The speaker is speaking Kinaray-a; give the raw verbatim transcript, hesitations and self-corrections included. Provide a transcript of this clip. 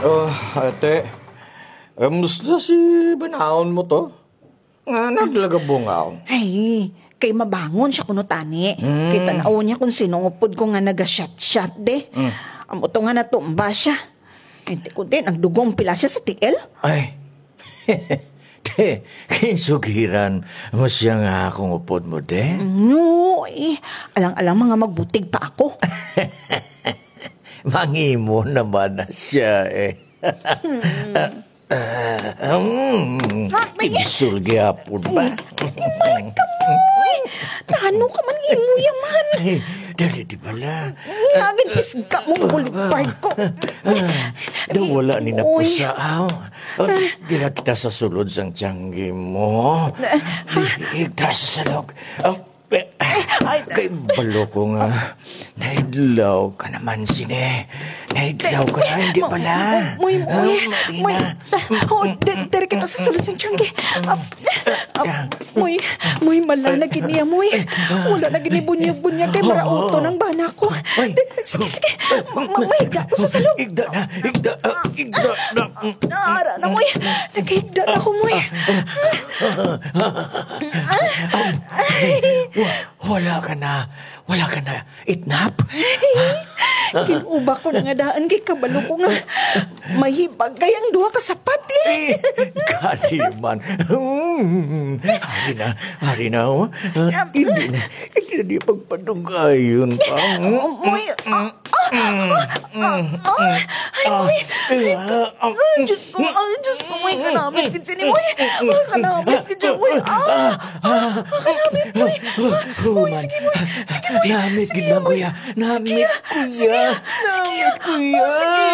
Oh, ate. Kamusta si banaon mo to? Nga naglagabungaw. Ay, kay mabangon siya kuno tani. Hmm. Kay tan-awon niya kon sin-o ang upod ko nga nagasyat-syat, de. Hmm. Amo to nga natumba siya. Ay, ti ko, de, nagdugong pila siya sa tiil. Ay. Te, ginsugiran mo siya nga akon upod mo, de? No, eh. Alang-alang mga magbutig pa ako. Mangimo naman na siya, eh. Hmm. Ah, mm, ah, may tigsul gihapon ba? Ay, mali ka, Moy. Nano ka man, imo yaman. Ay, dali, di bala. Ngagin pisga mo, bulbard ko. Ah, daw wala ni napusa, aw. Ah, dira kita sa sulod sang tiyangge mo. Ah, ha? Di, higda sa salog. Ah, Ay, ay, kay balo ko nga naidlaw ka naman sini. Naidlaw ka na, hindi pala. Moy, Moy, Moy, ah, Moy, Marina. Ah, oh, di-, diri kita sa sulod sang tiyangge. Ah, ah, Moy, Moy, mala na gid niya, Moy. Wala na gid ni bunyag-bunyag kay marauton ang bana ko. Ay. Di-, sige, sige. Ma-, ma-, mahigda ko sa salog. Higda na, higda, ah, higda na. Ah, ara na, Moy. Nakahigda na ako, Moy. Wa-, wala ka na, wala ka na itnap? Gin-uba ko na nga daan kay kabalo ko nga mahibagay ang duha ka sapat, eh. Eh, gani man. Hmm. Ari na, ari na, oh. Ah, hindi na, hindi na niya pagpadugayon pa. Oh, Moy, ah, Ah, ah, ah, ah, ay, Moy. Ay, Diyos ko, ay, Diyos ko, Moy, kanamit gid sini, Moy. Ah, kanamit gid siya, Moy. Ah, ah, ah, kanamit, Moy. Ah, Moy, sige, Moy. Sige, Moy. Namit gid lang, kuya. Namit, kuya. Sige, ah. Sige, ah. Namit, kuya. Ah, sige.